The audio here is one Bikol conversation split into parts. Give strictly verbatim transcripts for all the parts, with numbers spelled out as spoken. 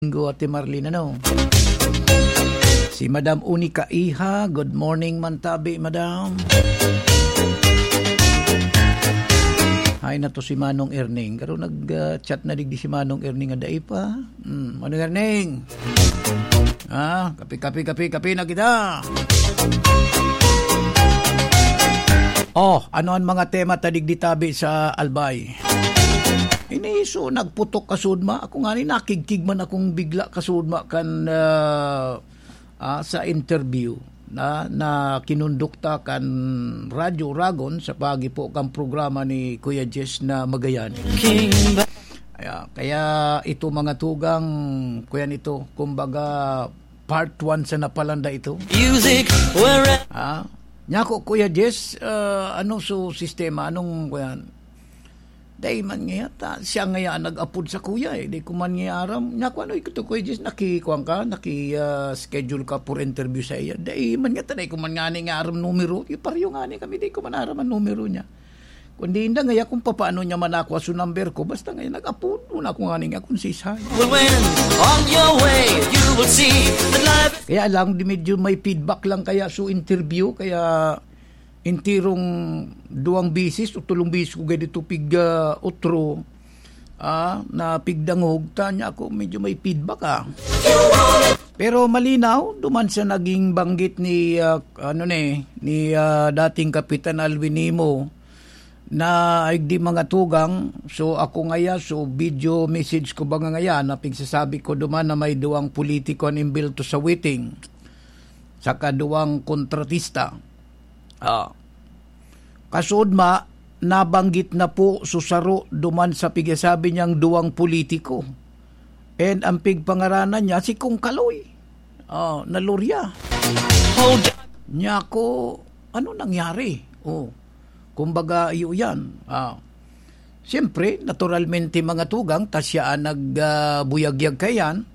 Domingo, Ate Marlene, ano? Si Madam Unica Iha, good morning man tabi, Madam. Hay na to si Manong Erning. Karo nag, ah, chat na digdi si Manong Erning nga dai pa. Hmm, Manong Erning. Ah, kape, kape, kape, kape na kita. Oh, ano ang mga tema ta digdi tabi sa Albay? Ini so nagputok kasudma. Ako nga ni nakigkig man akong bigla kasudma kan, ah, ah, sa interview na, na kinundukta kan Radyo Ragon sa pagi po kan programa ni Kuya Jess na Magayani. Kaya, kaya ito mga tugang, kuya nito, kumbaga part one sa napalanda ito. Music, where Ah, nyako, Kuya Jess, ah, ano so sistema? Anong, kuya? Dai man nga yata, siya nga yan nag-apod sa kuya eh. Di ko man nga aram. Nyako, ano ito, Kuya Jess? Nakikuan ka? Naki, ah, schedule ka for interview sa iya? Dai man nga, dai ko man nga ni nga aram numero. Yung pareho nga ni kami, dai ko man aram ang numero niya. Kundi inda nga, kung papaano niya man ako sa number ko, basta nga nag-apod, wala ko nga ni nga kung sisay. Well, when on your way, you will see that life Kaya lang, di medyo may feedback lang kaya so interview, kaya intirong duwang bisis o tulong bisis ko gay dito pig, ah, otro, ah, na pigdangog, ta nyako medyo may feedback, ah. Pero malinaw, duman sa naging banggit ni, ah, ano ni, ni, ah, dating Kapitan Alwin Nimo, na ay di mga tugang, so ako ngaya, so video message ko ba nga ngaya, na pigsasabi ko duman na may duwang politiko an imbelto sa waiting, saka duwang kontratista. Ah. Kasudma, nabanggit na po so saro duman sa pigsasabi niyang duwang politiko. And ang pigpangaranan niya, si Kong Kaloy. Ah, na Loria. Hold Nyako, ano nangyari? Oh, kumbaga, iyo yan. Ah, siyempre, naturalmente, mga tugang, ta siya ang nag, ah, buyagyag kayan,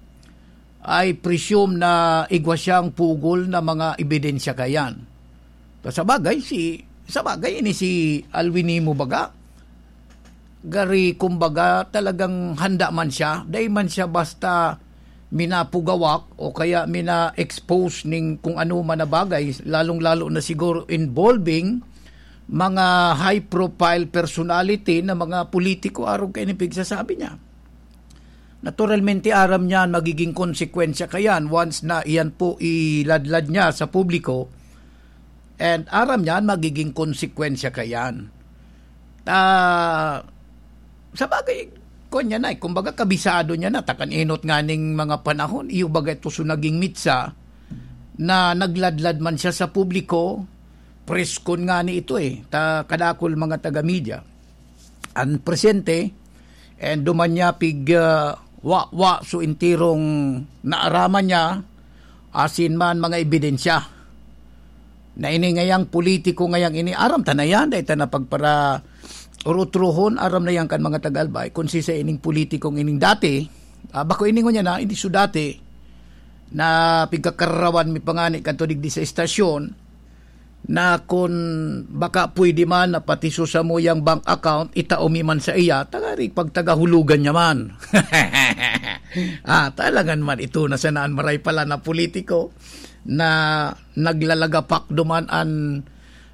I presume na igwa siyang pugol na mga ebidensya kayan. Ta sa bagay, si, sa bagay, ini si Alwin Nimo baga, gari, kumbaga, talagang handa man siya. Dai man siya basta minapugawak o kaya mina-expose ning kung ano man na bagay, lalong-lalo na siguro involving mga high-profile personality na mga politiko arog kaini pigsasabi niya. Naturalmente, aram niya an magiging konsekwensya kayan once na iyan po iladlad niya sa publiko. And aram niya an magiging konsekwensya kayan. Ta, sa bagay, kwan niya na eh. Kumbaga, kabisado niya na. Ta kan enot nga ning mga panahon, iyo baga ito so naging mitsa na nagladlad man siya sa publiko, preskon nga ni ito eh. Ta kadakul mga taga-media. An presente, and duman niya pig, ah, wa, wa, so intirong naaraman niya, asin man mga ebidensya. Na ini ngayang politiko ngayang ini, aram ta na yan, dahil ta na pagpara urutrohon, aram na yan kan mga taga-Albay, kung sisa ining politikong ining dati, ah, bako ini ngunyan na, hindi so dati, na pigkakararawan mi pa ngani kanto digdi sa estasyon, na kun baka pwede man na pati so samuyang bank account, itao mi man sa iya, tagari pagtagahulugan niya man. Ah, talagan man ito na sanaan maray pala na politiko na naglalagapak duman an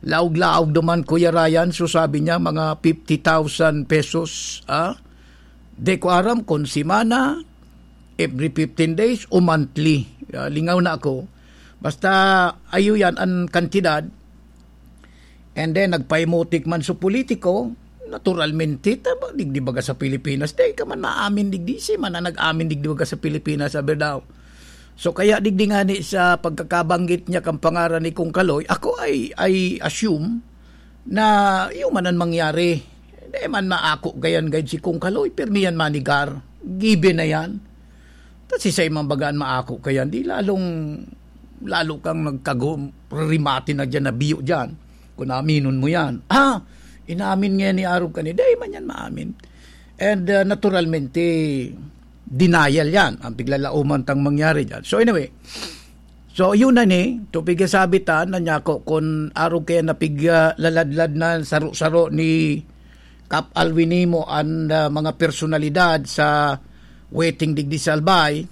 laog-laog duman, Kuya Ryan. So sabi niya, mga fifty thousand pesos, ah? Di ko aram kung simana, every fifteen days o monthly. Ah, lingaw na ako. Basta, ayo yan an kantidad. And then, nagpaimutik man sa politiko, naturalmente, ta ba, digdi baga sa Pilipinas, di ka man maamin digdi, si man na nag-amin digdi baga sa Pilipinas, sabi daw. So, kaya digdi nga ni sa pagkakabanggit niya kang pangaran ni Kong Kaloy, ako ay, I assume na iyo man ang mangyari. Di man maako gayan gayud si Kong Kaloy, pirmi yan manigar. Given na yan. Ta si sa imang bagaan maako ka yan, di lalong, lalo kang nagkago-, rimati na dyan, nabiyo dyan. Kung aminon mo yan. Ah, inamin nga ni Arog kani, di man yan maamin. And, uh, naturalmente, denial yan. Ang piglalauman tang mangyari dyan. So anyway, so yun na ni, tupig sabi ta, na niya ko, kung arog kaya napiglaladlad na saro-saro ni Kap Alwin Nimo an, ah, mga personalidad sa waiting digdi sa Albay,